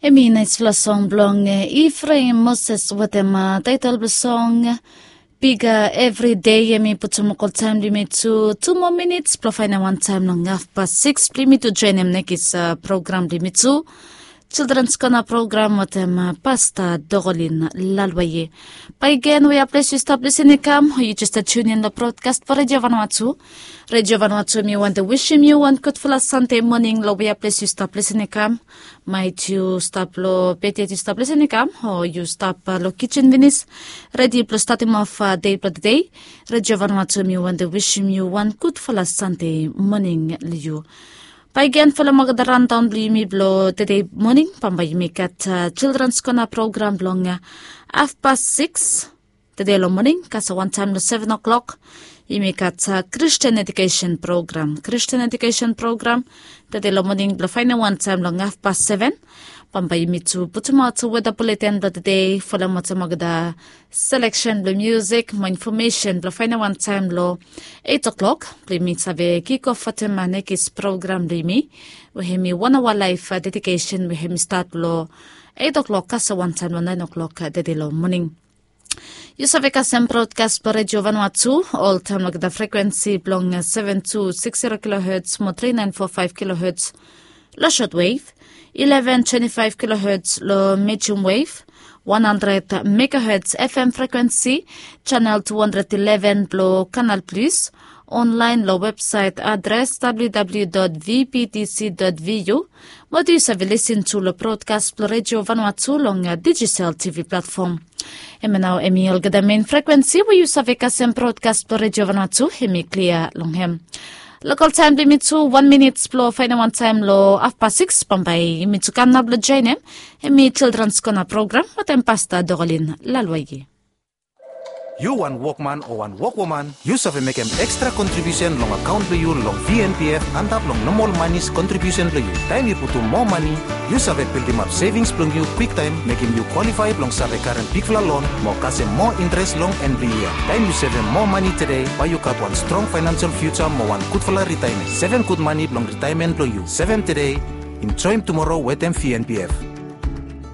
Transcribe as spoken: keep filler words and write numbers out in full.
Em i naisfala song blong Ifreim Moses wetem taitol blong song Biga. Evri dei em i putum olgeta taem blong yumi tu tu moa minits blong faenem wan taem long hafpas sikis blong yumi tu joenem nekis program blong yumi tu, Childrens Kona program wetem Pasta Dokolin Lalwaye. Bae gen wea ples yu stap lisin i kam o yu jes stap tiunin long brodkas blong Redio Vanuatu. Redio Vanuatu em i wantem wisim yu wan gudfala Sande moning long wea ples yu stap lisin i kam. Maet yu stap long bed yet yu stap lisin i kam o yu stap long kijen finis redi blong statem of dei blong tede. Redio Vanuatu em i wantem wisim yu wan gudfala Sande moning long yu. Bae gen folem olgeta raondaon blong yumi blong tede moning bambae yumi gat Childrens Kona program blong hafpas sikis tede long moning kasem wan taem long seven o'clock. Yumi gat Christian Education program, Christian Education program tede long moning blong faenem wan taem long hafpas seven. Bambae yumi tu putumaot weta buleten blong tede folem wetem olgeta seleksen blong musik mo infomesen blong faenem wan taem long eit o'clock blong yumi save kikof wetem nekis program blong yumi we hem i wan aoa laef dedikesen we hem i stat long eit o'clock kasem wan taem long naen o'clock tede long moning. Yu save kasem brodkas blong Redio Vanuatu oltaem long olgeta frekuensi blong seven two six zero kilohertz mo three nine four five kilohertz long shortwave, eleven twenty five kilohertz long medium wave, one hundred megahertz F M frekuensi, channel two hundred eleven blong Canal Plus, online long websaet adres W W W dot V B T C dot V U. Mo yu save lisin tu long brodkas blong Redio Vanuatu long dijital T V platfom. Hemia nao hem i olgeta men frekuensi we yu save kasem brodkas blong Redio Vanuatu hem i klia long hem. Lokal taem blong yumi tu wan minit blong faenem wan taem long hafpas sikis bambae yumi tu kam nao blong joenem. Hem i Childrens Kona program wetem Pasta Dokolin Lalwaye. Yu wan wokman o wan wokwoman, yu save mekem ekstra kontribiusen long akaon blong yu long V N P F antap long nomol manis kontribiusen blong yu. Taem yu putum moa mane, yu save bildimap sevings blong yu kwiktaem, mekem yu kwalifae blong save karem bigfala lon mo kasem moa interes long en blong yia. Taem yu sevem moa mane tede, bae yu gat wan strong faenansial fiuja mo wan gudfala ritaemen. Sevem gud mane blong ritaemen blong yu. Sevem tede, enjoem tumoro wetem V N P F.